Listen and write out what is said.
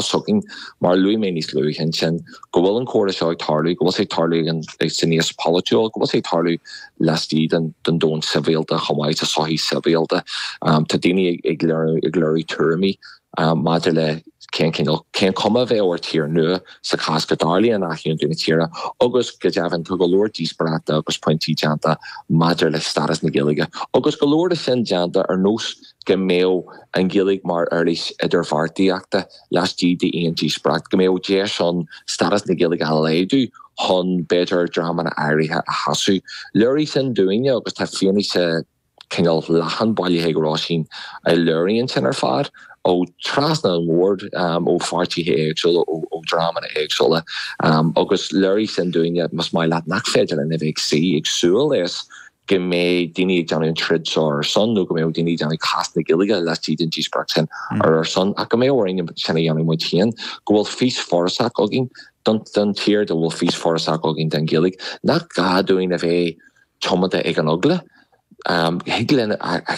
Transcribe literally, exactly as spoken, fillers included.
s'againn mar a luaigh mé níos luaithe ansin go bhfuil an comhrá seo ag tarlú, go bhfuil sé ag tarlú san aos polaitiúil, go bhfuil sé ag tarlú laistigh den den domhan sibhialta chomh maith sa sochaí sibhialta. Tá daoine ag léiriú tuairimí maidir le cén cineál cén cuma a bheadh ar tír nua sa chás go dtarlaíonn athaontú na tíre agus go deimhin tá go leor díospóireachta agus pointí déanta maidir le stádas na Gaeilge agus go leor de sin déanta ar nós go mbeadh an Ghaeilge mar uirlis idirbheartaíochta laistigh d'aon díospóireacht, go mbeadh deis ann stádas na Gaeilge a laghdú chun b'fhéidir dreamanna áirithe a shásamh. Léirigh sin dúinne agus tá fianaise cineál leathan bailithe ag Róisín a léiríonn sin ar fad ó trasna an bhoird, ó pháirtithe éagsúla, ó dhreamanna éagsúla agus léirigh sin dúinne, más maith leat, nach féidir linn a bheith ag suí ag súil leis go mbeidh daoine ag déanamh an troid seo ar ár son nó go mbeadh daoine ag déanamh cás na Gaeilge laistigh den díospóireacht sin ar ár son ach go mbeadh orainn sin a dhéanamh muid féin, go bhfuil fís forásach againn don tír, go bhfuil fís forásach againn don Ghaeilge, nach gá dúinn a bheith tiomanta ag an eagla. Thig linn a